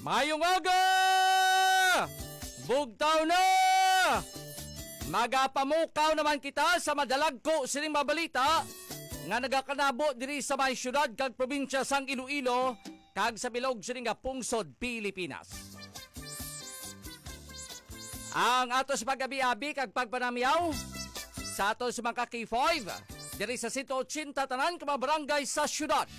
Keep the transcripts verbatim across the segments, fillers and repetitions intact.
Mayong aga! Bugtaw na! Magapamukaw naman kita sa madalagko sining mga balita nga nagakanabo diri sa may syudad kag probinsya sang Iloilo kag sa bilog sini nga pungsod Pilipinas. Ang ato sa pag-abi-abi kag pagpanamyaw sa ato sa mga K five diri sa sento ochenta tanan ka mga barangay sa syudad,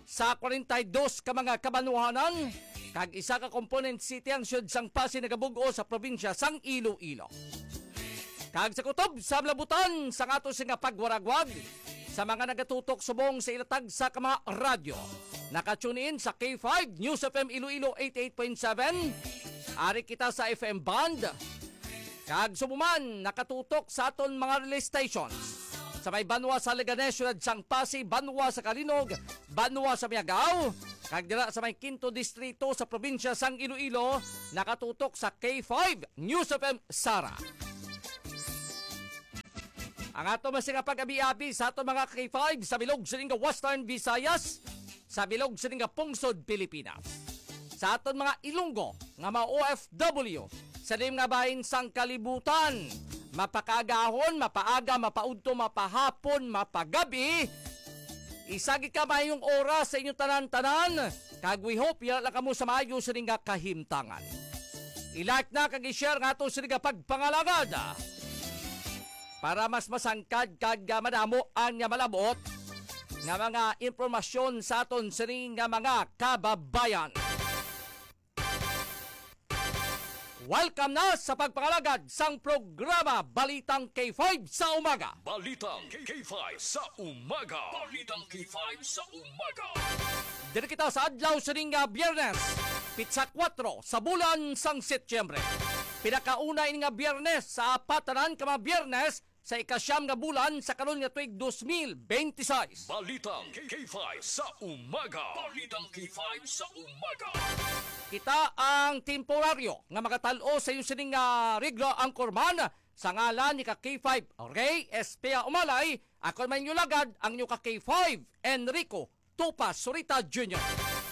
sa kwarenta y dos ka mga kabanwahanan, kag isa ka component city ang siyudad sang Pasig nagabug-os sa probinsya sang Iloilo. Kag sa kutob sa malabutan sang ato sini nga pagwaragwag sa mga nagatutok subong sa ilatag sa ka mga radyo. Naka-tune in sa K five News F M Iloilo eighty-eight point seven. Ari kita sa F M band. Kag subong man nakatutok sa aton mga relay stations sa may banwa sa Leganes, siyudad sang Pasig, banwa sa Calinog, banwa sa Miagao, kag dira sa may Quinto Distrito sa probinsya sang Iloilo, nakatutok sa K five News F M Sara. Ang ato man sini nga pag-abi-abi sa ato mga K five sa bilog sini nga Western Visayas, sa bilog sini nga pungsod Pilipinas. Sa aton mga Ilonggo nga mga O F W, sa lim nga bahin sang kalibutan, mapakaagahon, mapaaga, mapaudto, mapahapon, mapagabi, isa gid ka mayong oras sa inyo tanan-tanan, kag we hope yara lang kamo sa maayo sini nga kahimtangan. I-like na kag i-share nga ato sini nga pagpangalagad para mas masangkad kag, ah, madamo ang, ah, malabot nga mga impormasyon sa aton sini nga mga kababayan. Welcome na sa pagpangalagad sang programa Balitang K five sa Umaga. Balitang K five sa Umaga. Balitang K five sa Umaga. Diri kita sa adlaw sining nga Biyernes, pitsa kuwatro sa bulan sang Setyembre. Pinakauna ini nga Biyernes sa apat tanan ka mga Biyernes sa ikasyam nga bulan sa karon nga tuig dos mil benti-sais. Balitang K five sa Umaga. Balitang K five sa Umaga. Kita ang temporaryo nga magatal-o sa iyo sining nga regla, anchorman, sa ngalan ni ka K five Ray Espea Umalay. Ako man inyo lagad, ang inyo ka K five Enrico Tupa Surita Junior.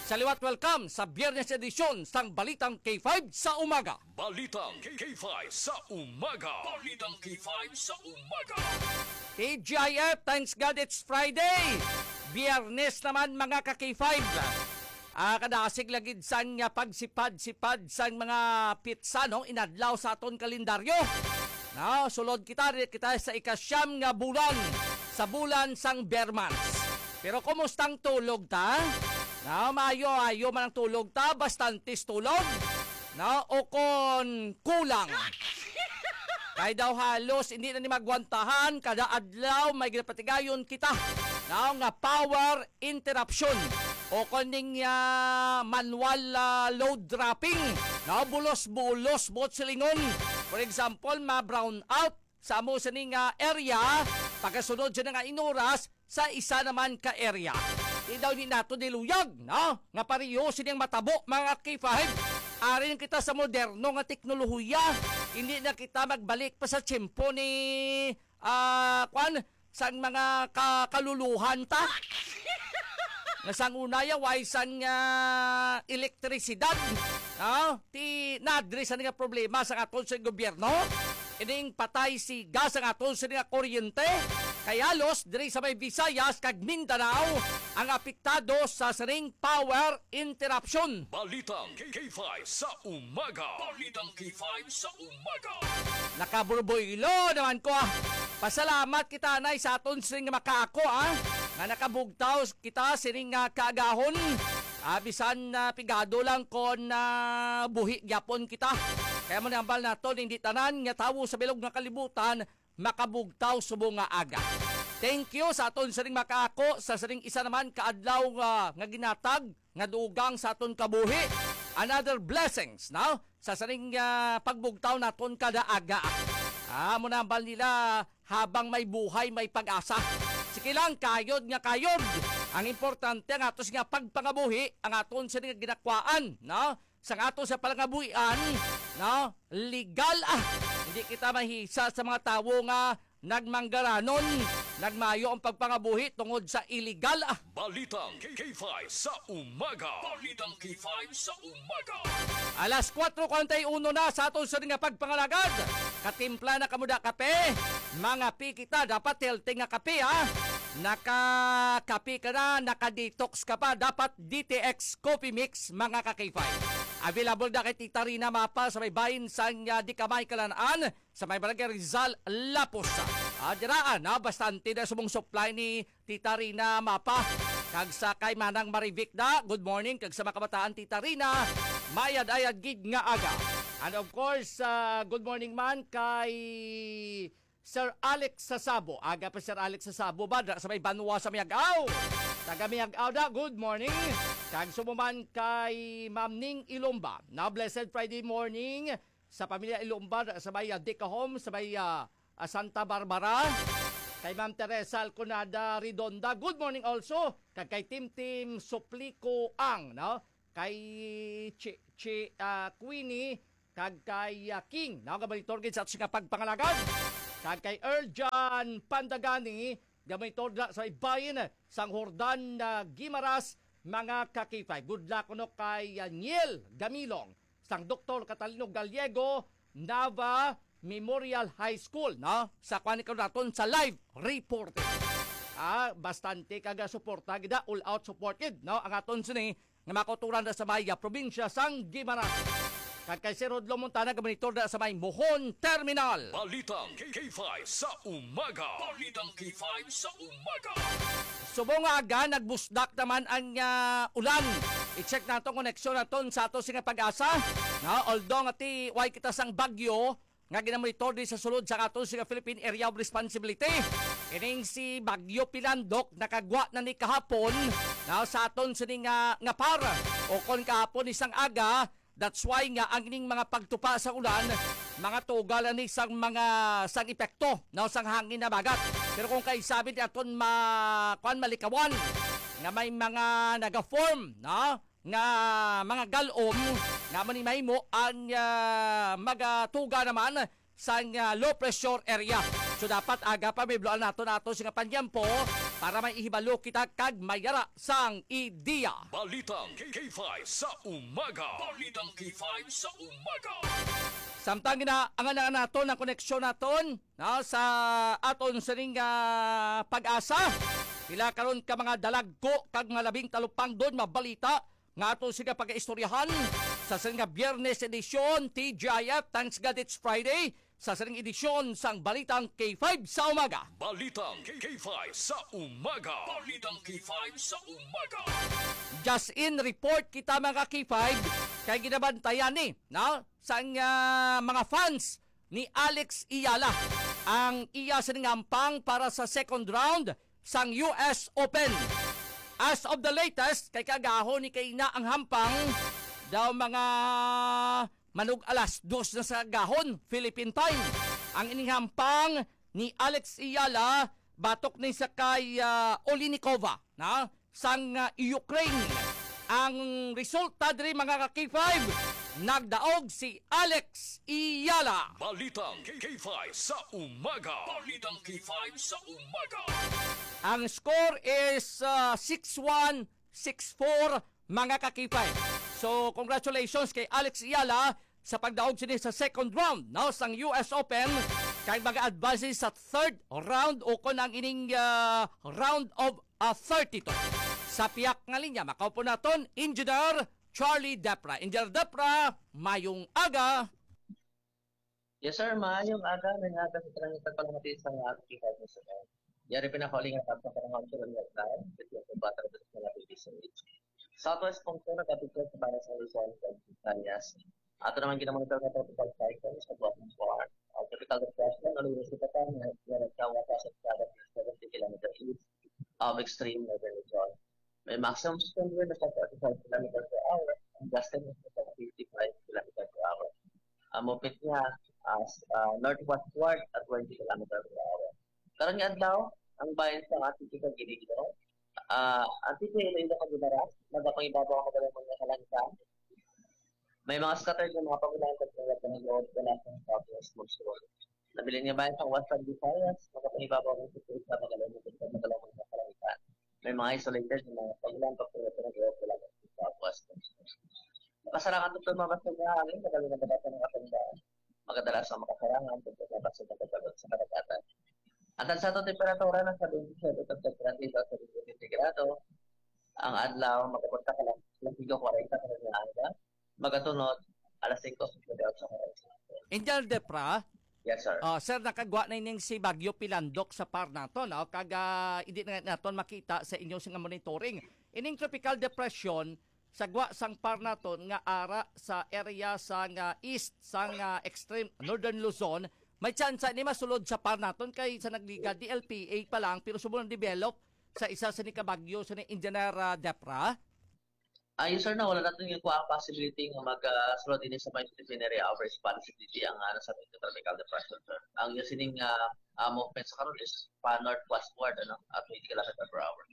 Sa liwat, welcome sa Biyernes edisyon sang Balitang K five sa Umaga. Balitang K five sa Umaga. Balitang K five sa Umaga. T G I F, thanks God it's Friday. Biyernes naman, mga ka K five. Ah, kadasig lagid sang, ah, pagsipad-sipad sang mga pitsa, no, inadlaw sa aton kalendaryo. No, sulod kita, diri kita sa ikasyam nga bulan, sa bulan sang Bermans. Pero kumusta ang tulog ta? No, maayo-ayo man ang tulog ta, bastantes tulog. No, o kon kulang. Kay daw halos hindi na ni magwantahan, kada adlaw may ginapatigayon kita, no, nga power interruption o kon ning, ah, manual, ah, load dropping, no, bulos-bulos buot silingon. For example, ma-brown out sa amo sini nga area, pagkasunod siya nga inuras sa isa naman ka area. Di daw ni nato diluyag, no? Nga pareho sining matabo, mga K five. Ari na kita sa moderno nga teknolohiya. Hindi na kita magbalik pa sa tiyempo ni, ah, kwan, sang mga ka-, kaluluhan ta. Nga sang una ya, way sang, ah, elektrisidad. No? Ti nadri sa nga problema sa aton sa gobyerno. Ining patay siga sa aton sa nga kuryente. Kay halos diri sa may Visayas kag Mindanao ang apektado sa sining power interruption. Balitang K five sa Umaga. Balitang K five sa Umaga. Nakaburboylo naman ko, ah. Pasalamat kita, anay, sa aton sing makaako, ah, nga nakabugtaw kita sining, ah, kaagahon. Ah, bisan, ah, pigado lang kon, ah, buhi gyapon kita. Kay amo ni hambal naton, hindi tanan nga tawo sa bilog nga kalibutan makabugtaw subong nga aga. Thank you sa aton sining makaako sa sining isa naman ka adlaw nga, nga ginatag nga dugang sa aton kabuhi. Another blessings, no? Sa sining, ah, pagbugtaw naton kada aga. Ah, amo na hambal nila, habang may buhay, may pag-asa. Sige lang, kayod nga kayod. Ang importante, ang atos nga pagpangabuhi, ang aton sini nga ginakwaan, no? Sa ato sa palangabuhian, no? Legal, ah. Hindi kita mahisa sa mga tawo nga nagmanggaranon, nagmayo ang pagpangabuhi tungod sa iligal, ah. Balitang K five sa umaga. Balitang K five sa umaga. Alas kuwatro kuwarenta y uno na sa aton sa nga pagpangalagad. Katimpla na kamo da kape. Mga pi kita, dapat healthy nga kape, ha. Naka-kape ka na, naka-detox ka pa, dapat D T X Coffee Mix, mga ka-K five. Available na kay Tita Rina Mapa sa may bahin sang, ah, Dikamay Kalanaan, sa may Barangay Rizal, Lapos. Ah, diraan, ah, bastante na subong supply ni Tita Rina Mapa. Kag sa kay Manang Marivic na, good morning. Kag sa mga kabataan, Tita Rina, mayad-ayad gid nga aga. And of course, ah, good morning man kay Sir Alex Sasabo. Aga pa Sir Alex Sasabo ba? Dra sa may Banwa sa Miag-aw. Taga Miag-aw na, good morning. Kag subong man kay Ma'am Ning Ilomba. Na blessed Friday morning sa pamilya Ilomba, sa may, ah, Dicahome, sa may, ah, ah, Santa Barbara. Kay Ma'am Teresa Alconada Redonda, good morning also. Kag kay Tim Tim Suplico Ang, no? Kay Chi, Chi, ah, Queenie, kag kay, ah, King, no? Gabalitor gid sa ato nga pagpangalagad. Kag kay Erjan Pandagani, gabalitor na sa ibayin sang Jordan, ah, Gimaras, mga ka-K five. Good luck kuno kay, ah, Niel Gamilong, sang Doktor Catalino Gallego, Nava Memorial High School, no? Sa kuan ni naton sa live reporting. Ah, bastante kaga suporta gid, ah, all out support gid, no? Ang aton sini nga makauturan na sa may, ah, probinsya sang Guimaras. Kag kay Sir Rodlo Montana, gabalitor na sa may Mohon Terminal. Balitang K five sa umaga. Balitang K five sa umaga. Subong nga aga, nagbusdak naman ang, ah, ulan. I-check nato ang koneksyon naton sa ato sing PAGASA. Na, although nga ti, way kita sang bagyo, nga ginamonitor di sa sulod sa aton sing Philippine Area of Responsibility. Ining si Bagyo Pilandok nakagwa na ni kahapon na sa aton sini nga, nga par. O kon kahapon isang aga, that's why nga ang ining mga pagtupa sa ulan, mga tuga lang ni sang mga, sang epekto, no, sang hangin na bagat. Pero kung kay sabi ni aton ma, kuan, malikawan, nga may mga naga-form, no, nga mga galom nga amo ni mahimo ang, ah, magatuga naman sang, ah, low pressure area. So dapat aga pa mibloan nato nato sing panyampo para may ihibalo kita kag mayara sang ideya. Balitang K five sa umaga. Balitang K five sa umaga. Samtang ginaangan naton ang koneksyon naton, no, sa aton sining, ah, PAGASA, pila karon ka mga dalagko kag mga labing talupangdon mabalita nga ato sing pagaistoryahan sa sining nga Biyernes edisyon, T G I F, thanks God it's Friday, sa sining edisyon sang Balitang K five sa umaga. Balitang K five sa umaga. Balitang K five sa umaga. Just in report kita, mga K five, kay ginabantayan ni, no, sang, ah, mga fans ni Alex Eala ang iya sining hampang para sa second round sang U S Open. As of the latest, kay kaagahon ni kaina ang hampang, daw mga manug alas dos na sa agahon, Philippine time. Ang ining hampang ni Alex Eala batok ni sa kay, ah, Olinikova, na, sang, ah, Ukraine. Ang resulta diri, mga ka-K five, nagdaog si Alex Eala. Balitang K five sa umaga. Balitang K five sa umaga. Ang score is, ah, six one, six four, mga ka-K five. So, congratulations kay Alex Eala sa pagdaog sini sa second round, no, sang U S Open, kay mag-advance sa third round o kon ang ining, ah, round of, ah, thirty-two. Sa piyak nga linya, makaupo naton, Engineer Charlie Depra. Engineer Depra, mayong aga. Yes, sir. Maayong aga. May aga sa tanang nagpalamati sa mga aktividad mo, sir. Yari pinakauli nga tapos sa mga actual nga time, kasi ang bata sa mga baby sa age. Sa ato sponsor, kapit ko sa Baras Luzon, Visayas. Ato naman ginamonitor nga tropical cycle sa Guapo Bar. Ang tropical depression, ano yung sa Patan, nga nagkawa sa sa seventy kilometer east of extreme northern Luzon. May maximum strength wind of forty-five kilometer per hour, and gusting of fifty-five kilometer per hour. Ang mupit niya as, ah, northwestward at twenty kilometer per hour. Karon nga adlaw, ang bayan sa ating kita Iloilo, ah, Antique, Iloilo, Cabidaras, nagapangibabaw ang madalong mga kalangkan. May mga scattered nga mga pagulan sa mga panagawad wala sa southwest monsoon. Nabilin nga bahin sa Western Visayas, makapangibabaw ng sitwasyon sa Magalona, sa Magalona nga kalangitan. May mga isolated nga mga pag-ulan, pagpura sa nag-iwag wala sa Western. Makasarangan ito mga basta nga hangin, magaling na bata ng katandaan. Magadalas ang makasarangan, ito mga basta nagkakaroon sa karagatan. Ang tansya sa temperatura na sa twenty-seven hanggang thirty sa sentigrado. Ang adlaw, makapunta ka lang, lang kwarenta ka na aga. Magatunod, alas singko sa gabi sa oras. Engineer Depra, Yes, sir. Ah, sir, nakagwa na ining si Bagyo Pilandok sa par naton, no? Kag, ah, hindi na naton makita sa inyo sing monitoring. Ining tropical depression sa gwa sang par naton nga ara sa area sang, ah, east sang, ah, extreme northern Luzon, may tsansa ni masulod sa par naton kay sa nagligad D L P A pa lang pero subong develop sa isa sa ni kabagyo sa ni Engineer, ah, Depra. Ah, yes, sir, na wala natin yung kuha ang possibility nga mag, ah, sulod din sa may disciplinary hours possibility ang, ah, nasa tropical depression, sir. Ang yung sining, ah, ah, movement sa karon is pa northwestward, ano, at twenty kilometer per hour.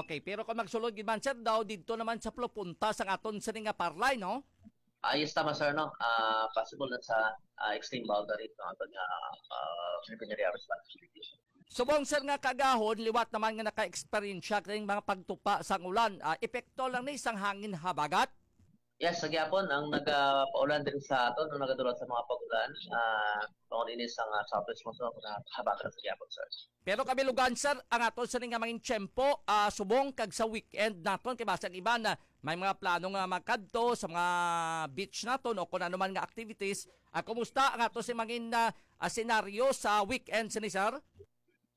Okay, pero kung magsulod gid man, sir, daw didto naman sa plopunta sang aton sini nga parlay, no? Ah, yes, tama, sir, no? Ah, possible na sa, ah, extreme boundary, no? Ato nga, ah, disciplinary hours possibility. Subong, sir, nga kaagahon, liwat naman nga naka-eksperyensya kini mga pagtupa sang ulan, ah, epekto lang ni sang hangin habagat? Yes, sa gihapon, ang nagapaulan diri sa aton, ang nagadulot sa mga pag-ulan, ah, tungod ini sa, ah, southwest monsoon, na habagat sa gihapon, sir. Pero kabilugan, sir, ang aton sini nga mangin tiyempo, ah, subong kag sa weekend naton, kay basi ang iban, ah, may mga plano nga magkadto sa mga beach naton o kung ano man nga activities. Ah, kumusta ang aton si mangin, ah, ah, senaryo sa weekend sini, sir?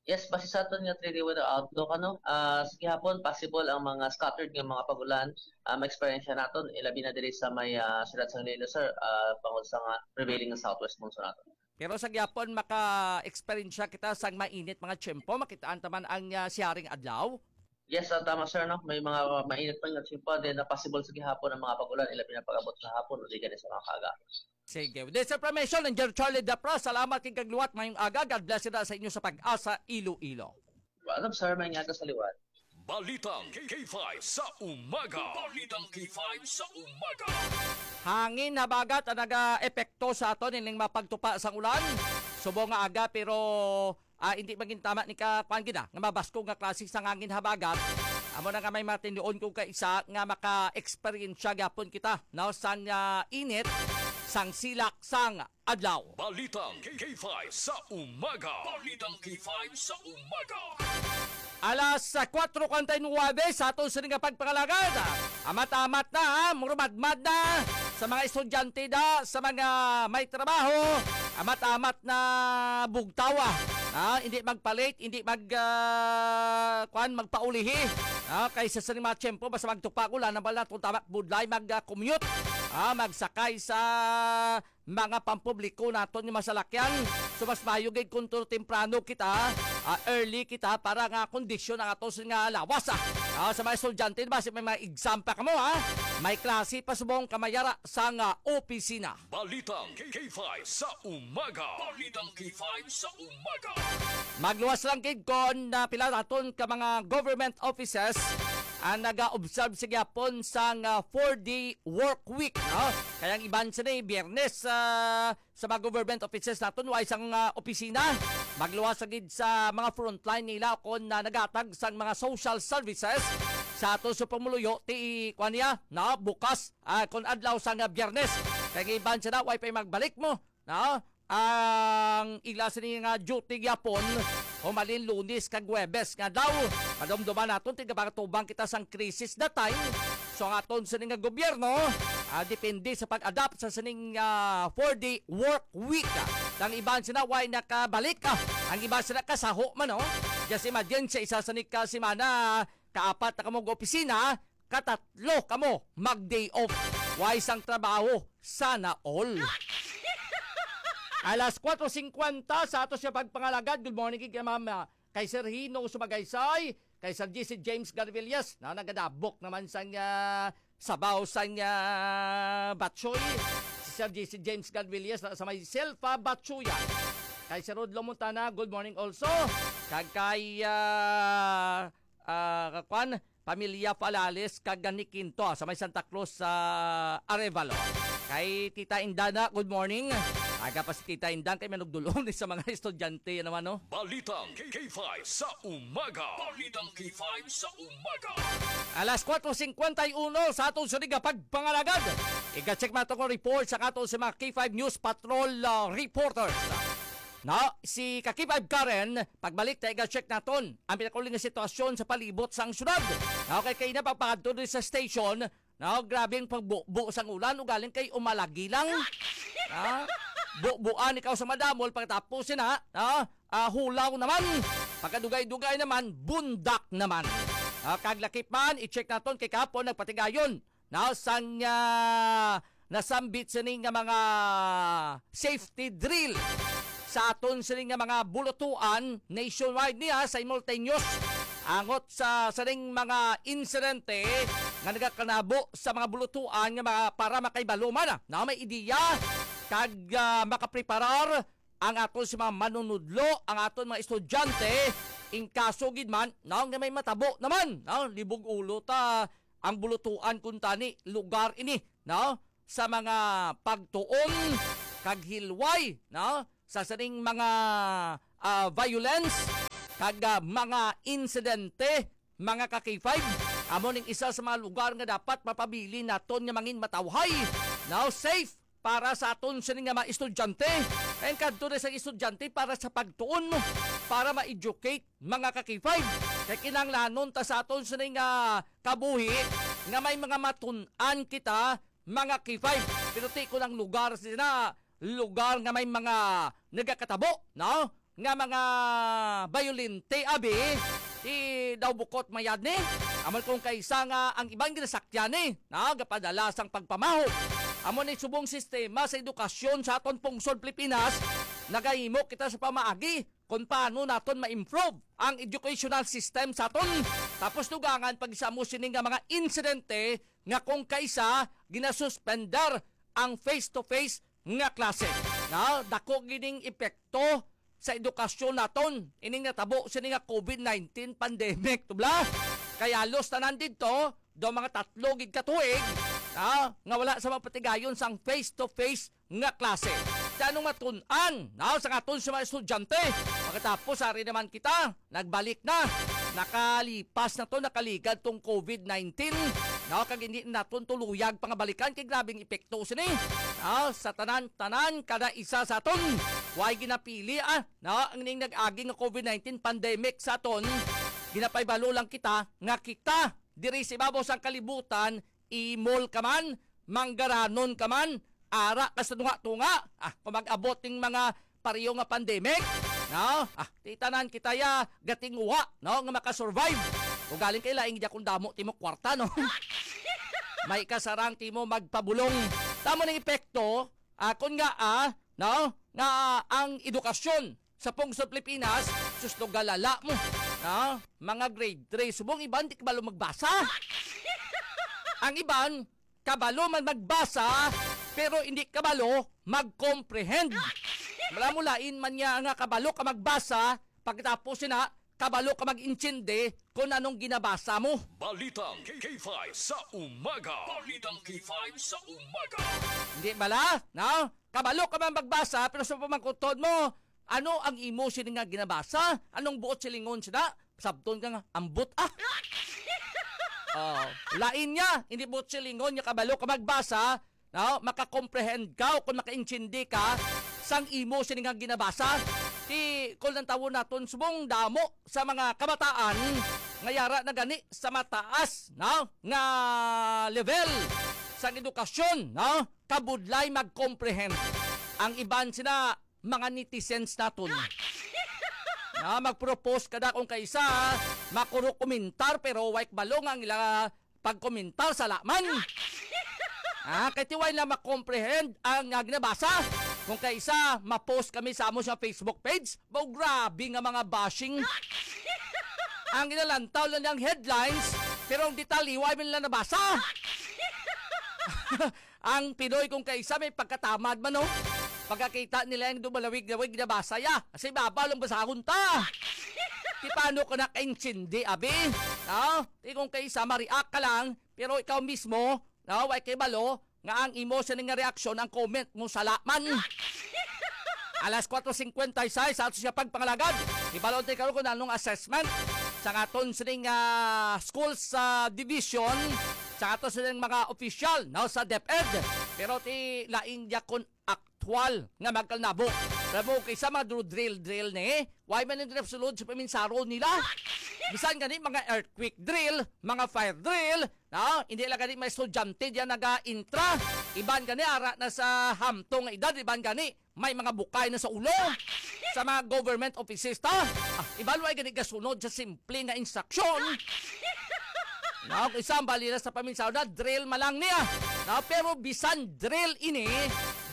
Yes, base sa aton nga three-day weather outlook, ano, ah, sa gihapon, possible ang mga scattered nga mga pag-ulan, ah, ma-experience naton, ilabi na diri sa may, ah, siyudad sa Iloilo, sir, ah, bangod sa nga prevailing nga southwest monsoon naton. Pero sa gihapon, maka-experience kita sang mainit mga tiyempo, makitaan ta man ang, ah, siyaring adlaw. Yes, ah, tama, sir, no? May mga mainit pa nga tiyempo, then, ah, possible sa gihapon ang mga pag-ulan, ilabi na pag-abot sa hapon o di gani sa mga kaaga. Sige. With this information, Engineer Charlie Dapra, salamat kay kagluwat. Mayong aga. God bless kita sa inyo sa Pag-asa, Iloilo. Welcome, sir. Mayong aga sa liwat. Balitang K five sa umaga. Balitang K five sa umaga. Hangin habagat ang naga-epekto sa aton ining mapagtupa sang ulan. Subong nga aga, pero, ah, hindi magin tama ni ka, kuwan gid, ah, nga mabaskog nga klase sang hangin habagat. Amo na nga may matinduon ko ka isa nga maka-eksperyensya gyapon kita, no, sang, ah, init, sang silak, sang adlaw. Balitang K five sa umaga. Balitang K five sa umaga. Alas, ah, kuwatro kuwarenta y nuwebe sa aton sini nga pagpangalagad. Amat-amat na, ha? Murumadmad na sa mga estudyante da, sa mga may trabaho. Amat-amat na bugtawa. Ha? Hindi magpalit, hindi mag, ah, kuwan, magpaulihi. Ha? Kaysa sa mga tiyempo, basta magtupa ko lang, nabal na itong tabak budlay, mag, ah, commute. Ha? Magsakay sa mga pampubliko naton nga masalakyan. So, mas maayo gid kung tulo temprano kita, ah, early kita para nga kondisyon ang ato nga lawas, ah. Ah, sa mga estudyante, basi may mga exam pa kamo, ha? May klase pa subong kamayara sa nga opisina. Balitang K five sa umaga. Balitang K five sa umaga. Magluwas lang gid kon, ah, pila naton ka mga government offices ang naga-observe sa gihapon sang, ah, four-day work week, no? Kaya ang iban sini, Biyernes, ah, sa mga government offices naton, way sang, ah, opisina. Magluwas sa gid sa mga frontline nila kon, ah, naghatag sang mga social services sa ato sa pumuluyo, ti, kuwan niya, no? Bukas, ah, kon adlaw sang, ah, Biyernes. Kaya ang iban sila, way pa magbalik mo, no? Ang ila sini nga duty gyapon, humalin Lunes kag Huwebes nga daw madumduman naton, tigapatubang kita sang krisis that time. So, ang aton sini nga gobyerno, ah, depende sa pag-adapt sa sining, ah, four-day work week. Ang iban sila way nakabalik, ah. Ang iban sila kasaho man, no? Just imagine, sa isa sa ni ka semana, kaapat na kamo opisina, katatlo kamo mag-day off. Way sang trabaho, sana all. Alas kuwatro singkwenta sa ato siya pagpangalagad. Good morning kay Ma'am, ah, kay Sir Hino Sumagaysay, kay Sir G C James Garvillas, na nagadabok naman sang, ah, sabaw sang, ah, batchoy. Si Sir G C James Garvillas na sa may Selfa Batchoyan. Kay Sir Rodlo Montana, good morning also. Kag kay, ah, ah, kakwan, Pamilya Falales kag ni Quinto sa may Santa Cruz sa Arevalo. Kay Tita Indana, good morning. Aga pa si Tita Indan kay manugdulong ni sa mga estudyante, ano man, no? Balitang K five sa umaga. Balitang K five sa umaga. Alas kwatro singkwenta y uno sa atong sunig nga pagpangalagad. Iga-check man to nga report sa aton sa mga K five News Patrol, ah, reporters. No, si ka K five Karen, pagbalik ta iga-check naton ang pinakauling nga sitwasyon sa palibot sang syudad. No, kay kay na pagpakadto diri sa station, no, grabe ang pagbubo sang ulan, ugaling kay umalagi lang. Ha? Bubuan ikaw sa madamol, pagkatapos sina, no, ah, hulaw naman. Pagkadugay-dugay naman, bundak naman. Ah, kag lakip man, i-check naton kay kapon nagpatigayon. Now, sang, ah, nasambit sini nga mga safety drill sa aton sini nga mga bulutuan nationwide niya, simultaneous angot sa sining mga insidente nga nagakanabo sa mga bulutuan nga mga para makaibaluman na, na may ideya kag, ah, makapreparar ang aton sa mga manunudlo, ang aton mga estudyante, in kaso gid man, no, nga may matabo naman, no, libog ulo ta ang bulutuan kuntani lugar ini, no, sa mga pagtuon kag hilway, no, sa sining mga, ah, violence kag, ah, mga insidente, mga ka K five. Amo ning isa sa mga lugar nga dapat mapabilin naton nga mangin matawhay, no, safe para sa aton sini nga mga estudyante. Ang kadto na sa estudyante para sa pagtuon mo, para ma-educate, mga ka K five. Kay kinahanglanon ta sa aton sini nga kabuhi nga may mga matun-an kita, mga K five. Pero ti ko ng lugar sina, lugar nga may mga nagakatabo, no? Nga mga bayolente, abi, ti daw bukot mayad ni. Amon kung kaisa nga ang iban ginasakyan ni, no? Gapadala sang pagpamaho. Amo ni subong sistema sa edukasyon sa aton pungsod Pilipinas, nagahimo kita sa pamaagi kung paano naton ma-improve ang educational system sa aton. Tapos dugangan pag isa mo sini nga mga insidente nga kung kaisa ginasuspender ang face-to-face nga klase. Na, dako gining epekto sa edukasyon naton ining natabo sini nga covid nineteen pandemic, tubla. Kay halos tanan didto, daw mga tatlo gid ka tuig, ah, nga wala sa mapatigayon sang face-to-face nga klase. Kay anong matun-an, no, sa aton sa mga estudyante? Pagkatapos, ari naman kita, nagbalik na. Nakalipas na to, nakaligad tong covid nineteen, no, kag hindi naton tuluyag pangabalikan kay grabing epekto sini, no, sa tanan-tanan kada isa sa aton. Way ginapili, ah, no, ang ning nag-agi nga covid nineteen pandemic sa aton. Ginapaybalo lang kita nga kita diri sa ibabaw sang kalibutan, imol ka man, manggaranon ka man, ara ka sa tunga-tunga. Ah, kung mag-abot ning mga pareho nga pandemic, no? Ah, ti tanan kita ya gatinguha, no, nga makasurvive. Kung galing kay laing di akong damo timo kwarta, no? May kasarang timo magpabulong. Tamo ning epekto, akon nga, ah, no, nga ang edukasyon sa pungsod Pilipinas, sus, to galala mo. Ha? Mga grade three, subong iban di kabalo magbasa. Ang iban, kabalo man magbasa, pero hindi kabalo mag-comprehend. Wala mo lain man niya nga kabalo ka magbasa, pagkatapos na, kabalo ka mag-intindi kung anong ginabasa mo. Balitang K five sa umaga. Balitang K five sa umaga. Hindi bala, no? Kabalo ka man magbasa, pero sa pamangkuton mo, ano ang imo sini nga ginabasa? Anong buot silingon sina? Sabton ka nga, ambot, ah. Oh, lain niya, hindi buot silingon niya kabalo ka magbasa, no? Makakomprehend ka o kung makaintindi ka sang imo sini nga ginabasa. Ti, kung lang tawon naton, subong damo sa mga kabataan nga yara na gani sa mataas, no, nga level sang edukasyon, no, kabudlay mag-comprehend. Ang iban sina mga netizens naton. Na mag-propose kada kung kaisa, makuro komentar, pero way kabalo nga ang ila pagkomentar sa laman. Ah, kay ti way na makomprehend ang, ah, ginabasa. Kung kaisa, ma-post kami sa amo sa Facebook page, baw grabe nga mga bashing. Ang inalantaw lang ang headlines, pero ang detalye, way man nila nabasa. Ang Pinoy kung kaisa may pagkatamad man, no? Pagkakita nila yung dumalawig-lawig na basa, ya. Kasi baba lang basahon ta. Di paano ko nakaintindi, abi? No? Di kung kaysa ma-react ka lang, pero ikaw mismo, no, way kay balo nga ang imo sini nga reaksyon, ang comment mo sala man. Alas kuwatro singkwenta y seis sa ato siya pagpangalagad. Ibalon tayo karon kung anong assessment sa aton sining, ah, schools, ah, division, sa ato sining mga opisyal, no, sa DepEd. Pero ti laing yakon aktual nga magkalnabo. Alam mo, kaysa mga dro-, drill-drill ni, why man yung sulod sa paminsaro nila? Bisan gani mga earthquake drill, mga fire drill, no? Hindi lang gani may estudyante diyan naga-intra. Iban gani ara na sa hamtong nga edad, iban gani may mga bukay na sa ulo. Sa mga government offices ta, ah, iban way gani gasunod sa simple nga instruction. No, kung isang balila sa paminsaro na, drill man lang niya. No, pero bisan drill ini,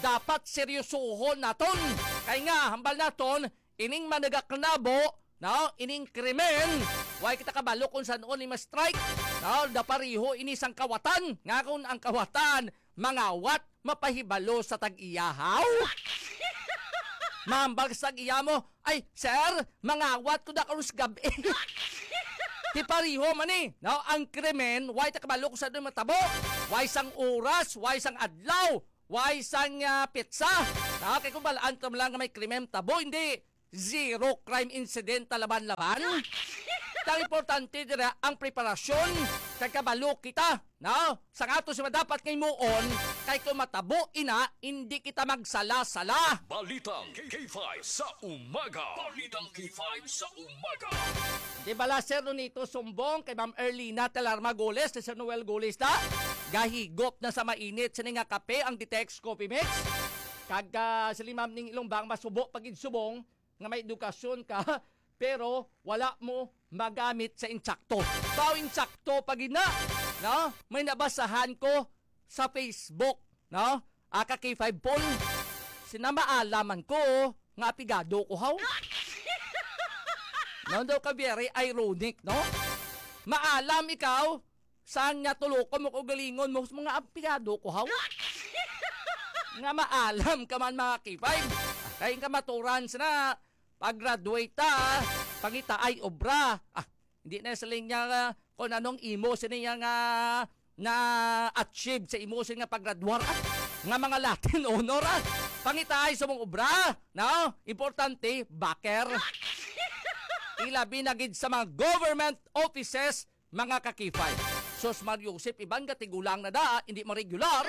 dapat seryosohon naton. Kay nga, hambal naton, ining managaknabo, no, ining krimen, way kita kabalo kung san-o ni ma-strike. No, da pareho ini sang kawatan. Nga kung ang kawatan, mangawat, mapahibalo sa tag-iyahaw. Mambag sa tag-iya mo, "Ay, sir, mangawat ko na karon sa gabi." Ti pareho man ni, no? Ang krimen, way ta kabalo kung sa matabo. Way sang oras, way sang adlaw, way sang, ah, petsa. No? Kay kung balaan ta lang nga may krimen tabo, hindi zero crime incident na laban-laban. Ang importante dira ang preparasyon kay kabalo kita, no? Sa ato si madapat nga himuon, kay kung matabo ina, hindi kita magsala-sala. Balitang K five sa umaga. Balitang K five sa umaga. Di bala, Sir Nonito Sumbong, kay Ma'am Erlina Telarma Goles, kay Sir Noel Goles na, gahigop na sa mainit sini nga kape ang Ditex Coffee Mix. Kag, ah, sila Ma'am Ning Ilong Bang, masubo pag subong nga may edukasyon ka, pero wala mo magamit sa insakto. Daw insakto pa gid na, no? May nabasahan ko sa Facebook, no? Aka K five poll. Sinamaalaman ko nga apigado ko, haw. No, daw ka very ironic, no? Maalam ikaw, sang nga tulokon mo ko galingon mo, mga apigado ko, haw. Nga maalam ka man, mga K five. Kay kamaturan sa na, pag-graduate ta, pangitaay obra. Ah, hindi na siling niya nga kung anong imo sini nga na-achieve sa imo sini nga paggraduar. Ah, nga mga Latin honor, ah. Pangitaay sa mong obra, no? Importante, backer. Ilabi na gid sa mga government offices, mga ka-K five. Sus, Mar Joseph, iban ka tigulang na da, hindi mo regular.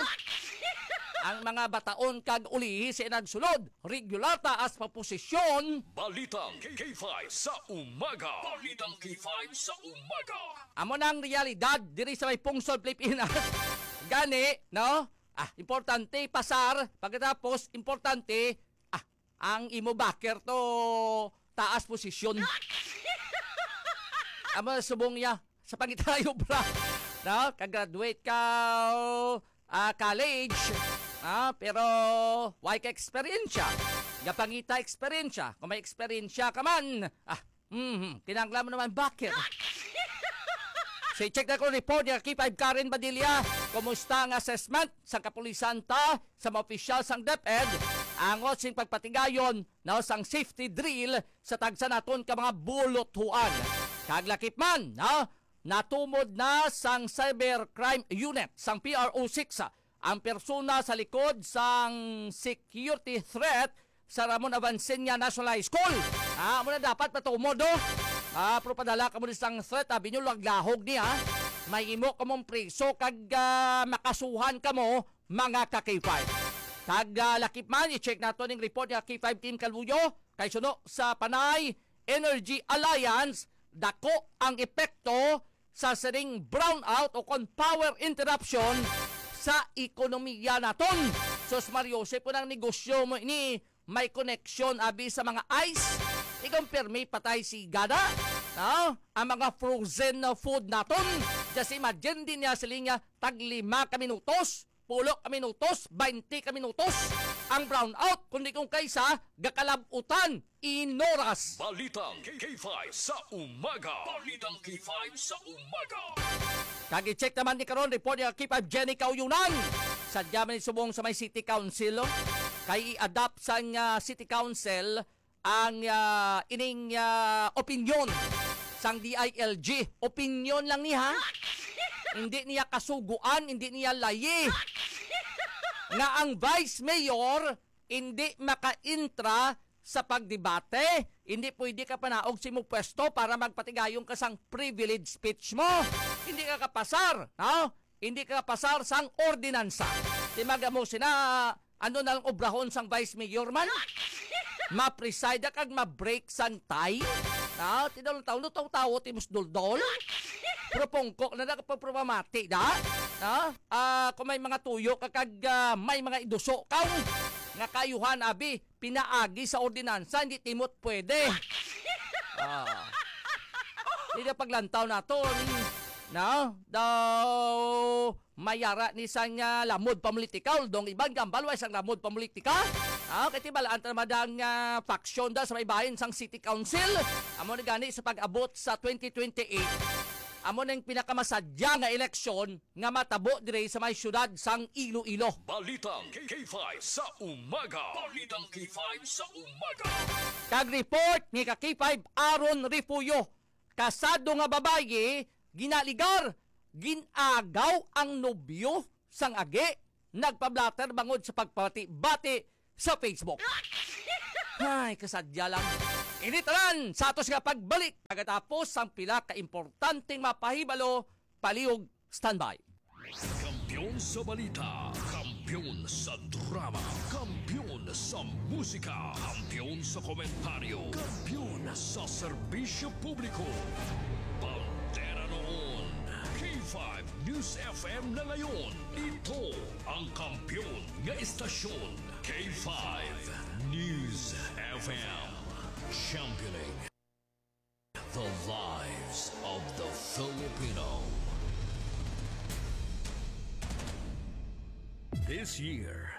Ang mga bataon kag ulihi sa nagsulod, regular taas pa posisyon. Balitang K five sa umaga. Balitang K five sa umaga. Amo na ang realidad diri sa may pungsod Pilipinas. Gani, no? Ah, importante, pasar. Pagkatapos, importante, ah, ang imo backer to taas posisyon. Amo na subong niya sa pangitayo, bra. No? Ka-graduate ka, ah, college, ah, pero way ka eksperyensya. Gapangita eksperyensya. Kung may eksperyensya ka man, ah, mhm, kinahanglan mo naman backer. So, i-check na ko report ni K five Karen Badilla. Kumusta ang assessment sa kapulisan ta sa mga opisyal sang DepEd? Angot sing pagpatigayon, no, sang safety drill sa tagsa naton ka mga bulothuan. Kag lakip man, no, natumod na sang Cybercrime Unit sang P R O six ang persona sa likod sang security threat sa Ramon Avancenia National High School. Ah, amo na dapat matumod, no? Ah, pero padala ka mo sang threat, abi nyo, laglahog niya. May imo kamong priso kag, ah, makasuhan kamo, mga ka-K five. Kag, ah, lakip man, i-check nato ning report ni K five Team Kaluyo. Kay suno sa Panay Energy Alliance, dako ang epekto sa sining brownout o kon power interruption sa ekonomiya naton. Sus Mario, sa po ng negosyo mo ini, may koneksyon abi sa mga ice. Ikaw permi patay si gada, no? Ang mga frozen na food naton. Just imagine din niya sila nga tag lima ka minutos, pulo ka minutos, baynte ka minutos ang brownout, kundi kung kaysa gakalabutan in oras. Balitang K five sa umaga. Balitang K five sa umaga. Kag i-check naman ni karon report ni K five Jenny Kauyunan. Sadya man subong sa may City Council, oh. Kay i-adapt sang, ah, City Council ang, ah, ining, ah, opinyon sang D I L G. Opinyon lang ni, ha? Hindi niya kasuguan, hindi niya layi nga ang vice mayor hindi makaintra sa pagdebate. Hindi pwede ka panaog sa imong pwesto para magpatigayon ka sang privilege speech mo. Hindi ka kapasar, no? Hindi ka kapasar sang ordinansa. Di magamo sina, ano na lang obrahon sang vice mayor man? Ma-preside kag ma-break sang tie? No? Tinaw lang taon, no? Tawo-tawo, timos duldol. Pero pungko na nakapagprobamati, da? No? Ah, kung may mga tuyo ka kag, ah, may mga iduso ka, nga kayuhan, abi, pinaagi sa ordinansa, hindi timot pwede. Ah. Hindi na paglantaw naton. No? Daw, mayara ni sang, ah, lamod pamulitika, dong iban gambal, way sang lamod pamulitika. Ah, kay tibalaan ta naman ang, ah, faction da sa may bahin sang City Council. Amo ni gani sa pag-abot sa twenty twenty-eight. Amo na yung pinakamasadya nga eleksyon nga matabo dire sa may siyudad sang Iloilo. Balitang K five sa umaga. Balitang K five sa umaga. Kag report ni ka K five Aaron Refugio, kasado nga babayi, ginaligar, ginagaw ang nobyo sang agi, nagpablatter bangod sa pagpati-bati sa Facebook. Ay, kasadya lang. Ini tanan sa atos nga pagbalik pagkatapos sang pila ka importanteng mapahibalo, palihog, standby. Kampiyon sa balita, kampiyon sa drama, kampiyon sa musika, kampiyon sa komentaryo, kampiyon sa serbisyo publiko. Bandera noon, K five News F M na ngayon. Ito ang kampiyon nga istasyon, K five News F M. Championing the lives of the Filipino. This year,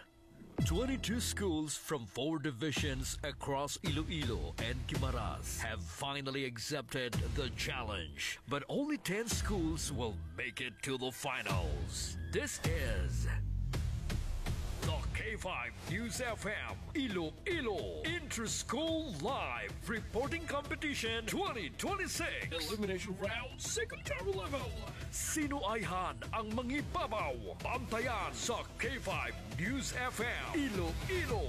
twenty-two schools from four divisions across Iloilo and Guimaras have finally accepted the challenge, but only ten schools will make it to the finals. This is the K five News F M Iloilo Inter-School Live Reporting Competition twenty twenty-six. Elimination Round, Secretary Level. Sino ayhan ang mangibabaw? Bantayan sa K five News F M Iloilo.